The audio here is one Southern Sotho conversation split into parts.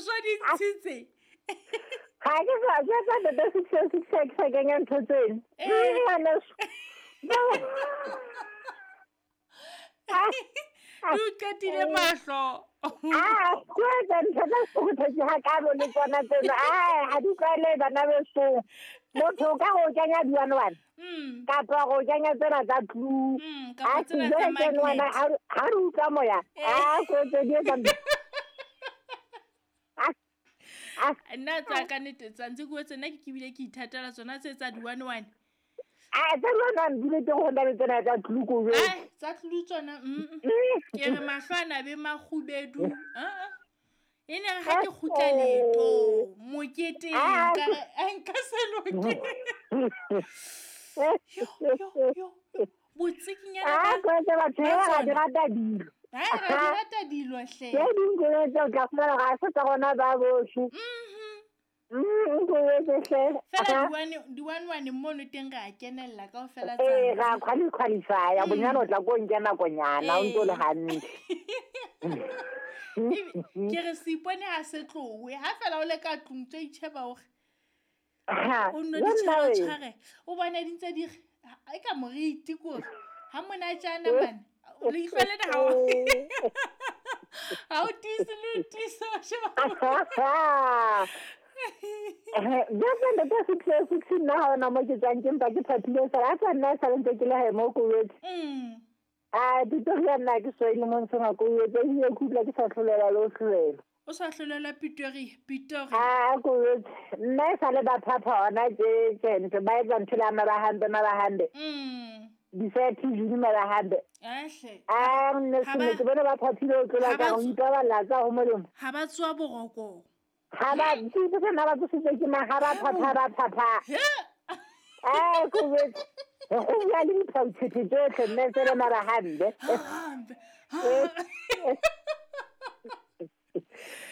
so di ntshitse. Ga ke sa ke sa ntate 6 6 ke sa kenya ntho tseno. Ngwaneso. Di o qetile mahlo. Ah, ke etsa ntho tsa sekgothetse ga kalo le tsona tseno. Ai, ha di tlwaele bana beso. Motho o ka go kenya di-one-one. Kapa go kenya tsena tsa glue. Kapa tsena tsa magnet. Ha re utlwa moya. Ah, ko tse di etsa. Nna tsa ka nnete tsa ntse ke wetse nna ke kebile ke ithatela tsona tse tsa di-one-one. A tsa di-one-one di le teng go na le tsena tsa glue ko jwetse. Ai, tsa glue tsona. Ke re mahlo a na be makgubedu. E ne re ha ke kgutla leeto moketeng ka re a nka se loke. Yo yo yo. Botsikinyana ba. Ah, ko tse batho ba di rata dilo. Ha ra di rata dilo hle. Ke ding ke tse o tla fumana ga se tsa rona ba bohle. Ko etse hle. Fela di-one-one mono teng re a kenella kaofela tsa. Ee, ra qualify-a bonyane o tla ko nke nakonyana o ntse o le hantle. Ke re seipone ha se tlowe ha fela o le ka tlung tse itjheba hore o nno di tshware o bone di ntse di e ka moriti kore ha monatjana mane leihlo lena ha o tiise le o tiise wa sheba. Jwale ntate 6 6 nna ha ona mo ke tswang ke mpa ke phaphile fela a tsa nna sa ntse ke le hae mo ko wetse. A Pretoria nna ke so ile mo ntsheng ko wetse ebile ke utlwa ke sa hlolela le ho hlolela. O sa hlolela Pretoria Pretoria. A ko wetse nna e sa le ba phapha hona tje tje ba etsa ntho le ama ba hambe ma ba hambe. Di-30 June ma ba hambe. Ahle. A nne se ke bona ba phaphile o tlola ka go ipaballa tsa ho molemo. Ha ba tswa boroko. Ha ba tsitse nna ba tsositse ke ma ha ba phapha ba phapha. Eh ko wetse go bua le diphauthuthu tsotlhe mme se le mara hambe.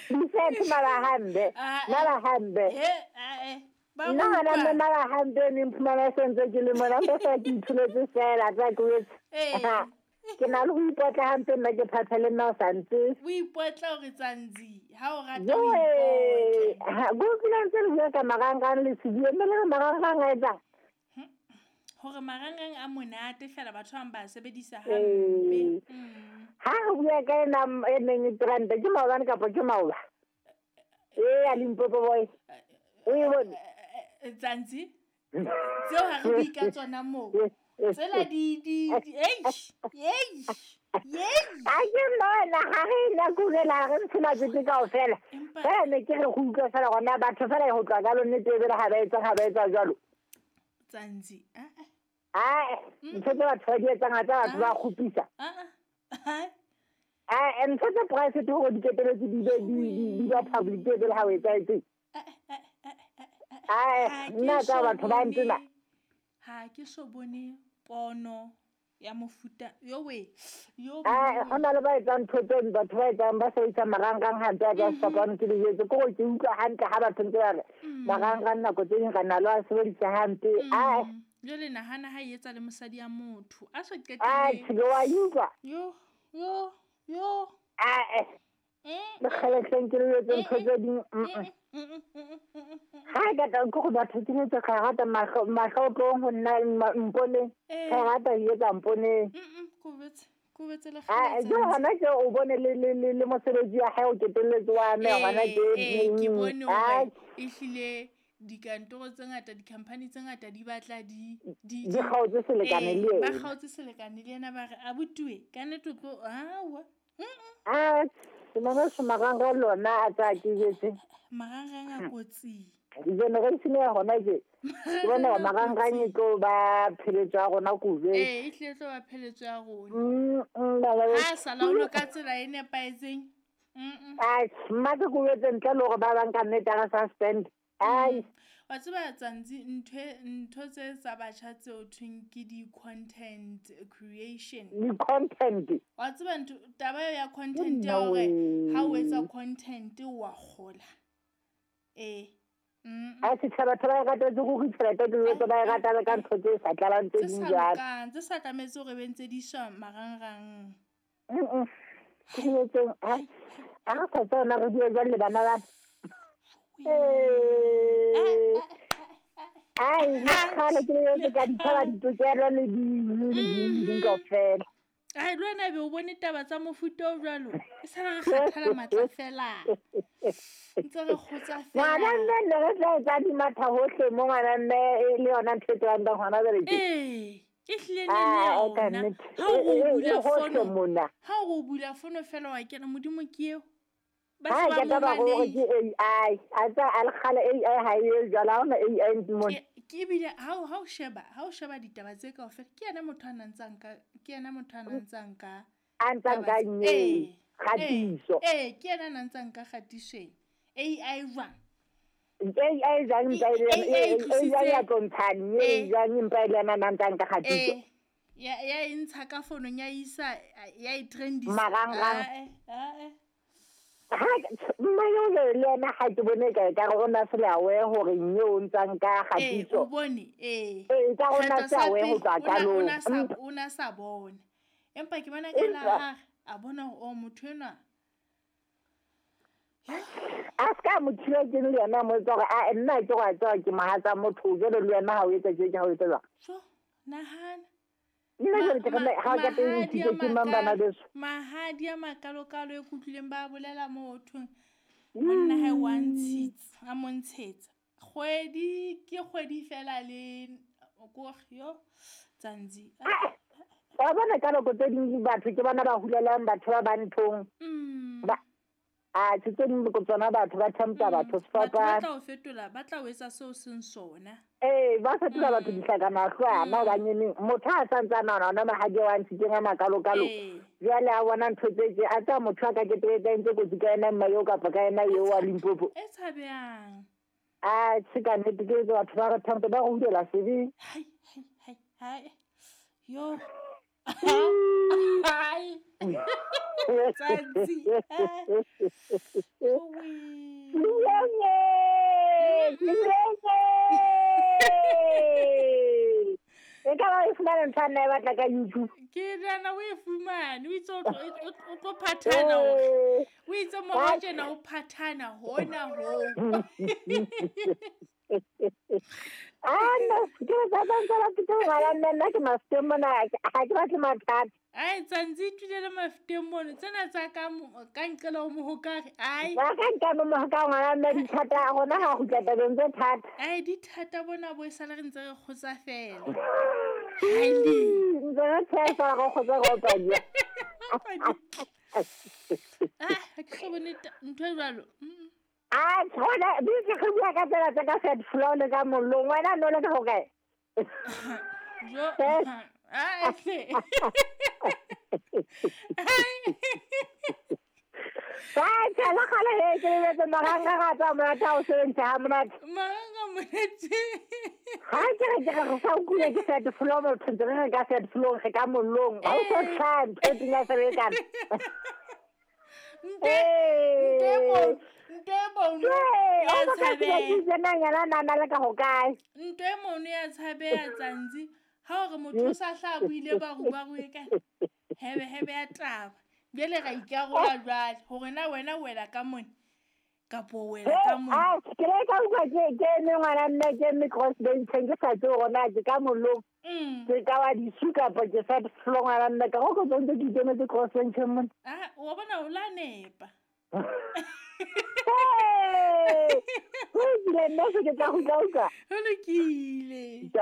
Di-30 mara hambe. Mara hambe. Nna hona mme mara hambe ne mphumana se ntse ke le mona mpe fela ke ithuletse fela tsa ko wetse. Ke na le ho ipotla hampe nna ke phapha le nna o sa ntse. O ipotla hore tsantsi ha o rata o ipotla. Go utlwile ntse re bua ka marangrang le sebue mme le re marangrang a etsang. Hore marangrang a monate fela batho ba bang ba sebedisa hampe. Ha re bua ka ena e neng e trend ke maobane kapa ke maoba. Ee, a Limpopo boy. O e bone. Tsantsi tseo ha re bue ka tsona moo. Tsela di di eish eish eish. A ke nna ha re na kurela re ntshe matsete kaofela. Fela ne ke re go utlwa fela gona batho fela ho tloha ka lone tebele ha ba etsa jwalo. Tsantsi ntho tse batho ba di etsang tsa batho ba kgopisa. Ntho tse private hore di qetelletse di be di ba public tebele ha o etsahetse. Nna tsa batho ba ntena. Ha ke so bone pono ya mofuta yo we yo. Ho na le ba etsang ntho tse batho ba etsang ba sebedisa marangrang hampe a ka fapano ke dijetse ke gore ke utlwa hantle ha batho ntse ba re marangrang nako tse ding re na le a sebedisa hampe. Jwale nahana ha e etsa le mosadi ya motho a so qetile. Ke wa utlwa. Yo yo yo. Le kgeletleng ke le etse ntho tse ding. Ha ka tla ke go batho ke etse ka rata mahlo mahlo tlong ho nna mponeng. Ka rata e etsa mponeng. Ko betse le kgele. Jo hona ke o bone le le le mosebetsi wa hae o ketelletse wa me hona ke ke bone hore e hlile dikantoro tse ngata di-company tse ngata di batla di di kgaotse selekane le yena. Ba kgaotse selekane le yena ba re abutuwe ka nnete o tlo awa. Ke marangrang lona a tsa ke jetse. Marangrang a kotsi. Generation ya hona ke. Ke bona marangrang e tlo ba pheletso ya rona kuve. E hlile tlo ba pheletso ya rona. Ha sala o lo ka tsela e nepahetseng. Ai, mma ke kubetse ntle le hore ba bang ka nnete re suspend. Ai. Wa tseba tsantsi ntho tse tsa batjha tseo thweng ke di-content creation. Di-content. Wa tseba ntho taba eo ya content ya hore ha o etsa content wa kgola. A setjhaba batho ba e ratetse ruri tjhelete ke jwetse ba e rata le ka ntho tse sa tlalang tse ding jwalo. Tse sa tlametse hore be ntse di iswa marangrang. Ke jwetseng a re sa tsona re bue jwang le bana ba. Ai, le kgale ke le ka ditshaba ditokelo le di kaofela. Ai, le wena be o bone taba tsa mofuta o jwalo. E sala re kgathala matla fela. Ntse re kgotsa fela. Ngwana mme ne re tla etsa di matha hohle mo ngwana mme e le yona ntho e tswang hona jwale ke. Ee, e hlile ne le yona. Ha o bula fono, ha o bula fono fela wa kena Modimo ke eo. Ba se ba mo gore ke AI. A tsa a le kgale AI ha e jwalo, ha hona AI mona. Ke ebile ha o sheba, ha o sheba ditaba tse kaofela, ke yena motho a nang ka, ke yena motho a nang ka a ntsang ka nye kgatiso. Ee, ke yena a nang ka kgatisong. AI jwang? AI jwang mpa ile AI ya tlontshane, e jwang mpa ile yena nang ka kgatiso. Ya e ntsha ka fonong ya isa ya e trendisa. Marangrang. Mma yo le yena ha ke bone ka ka re o na se le aware hore nye o ntsang ka kgatiso. O bone, ee. Ee, ka o na se aware ho tloha qalong. O na sa bone. Empa ke bona ka la ha a bona hore o motho enwa. A ska mo thiba ke le yena mo etsa hore a nna ke go a tswa ke mohatsa motho jwale le wena ha o etsa tje ke ha o etsa jwang. So, nahana. Nna jwale ke re ha ka teng ke ke mang bana beso. Mahadi a makalokalo e kutlwileng ba bolela motho. Monna hae wa ntshitsa, a mo ntshetsa. Kgwedi ke kgwedi fela le ko yo tsantsi. Wa bona ka nako tse ding batho ke bona ba hulelang batho ba banthong. Ba a tse ding ko tsona batho ba thampa batho sefapana. Ba tla o fetola, ba tla o etsa seo seng sona. Ee, ba fetola batho dihlakana hlwana ba nyeneng. Motho a sa ntse a nahana ona mahadi wa ntshitseng a makalokalo. Jwale a bona ntho tse tje, a tsa motho a ka ketebetsa ntse kotsi ka yena mma eo kapa ka yena eo wa Limpopo. E tshabehang. A tjhe ka nnete ke batho ba re thampa ba re hulela sebeng. Hai hai hai hai. Yo. Hai. Tsantsi. E ka ba e fumane ntho a nna e batla ka YouTube. Ke nahana o e fumane, o itse o tlo phathana hore. O itse morao tjena o phathana hona hoo. Ah, no, ke tla ba ntse ba ke ngwana nna nna ke mafuteng mona, ha ke batle mathata. Ai, tsantsi itulele mafuteng mono, tsena tsa ka ka nqela o mohokare. Ai. Ba ka nka mo mohokare ngwana nna dithata a rona ha kgutla tabeng tse thata. Ai, dithata bona bo e sale re ntse re kgotsa fela. Hai le. Ntse re tshepa re kgotsa re opanya. Ah, ha ke so bone ntho e jwalo. Ah, tsona di ke re bua ka tsela tsa ka set flow le ka mollong. Wena no le ka ho kae? Jo. Ah, hle. Ba tsela kgale he ke le tse maranga ga tsa monate ha o sebedisa ha monate. Maranga monate. Ha ke re ke re sa utlwile ke set flow motho ntse re ka set flow re ka mollong. Ha o so tlhaha ntho e pina sebetsana. Ntwe mono ya tshabeha tsantsi. Ha o re motho o sa hla buile barubaru e ka hebe hebe ya taba. Jwale ra ikarola jwale hore na wena o wela ka mone kapo o wela ka mone. Ah, ke le ka utlwa ke eme ngwana mme ke eme cross bench ke sa tsebe hore na ke ka mollong. Ke ka wa disu kapa ke sa flow ngwana mme ka go ntse ke ikemetse cross bench mone. Ah, o bona o la nepa. Hey! Ho ile nna se ke tla go utlwa. Ho lokile.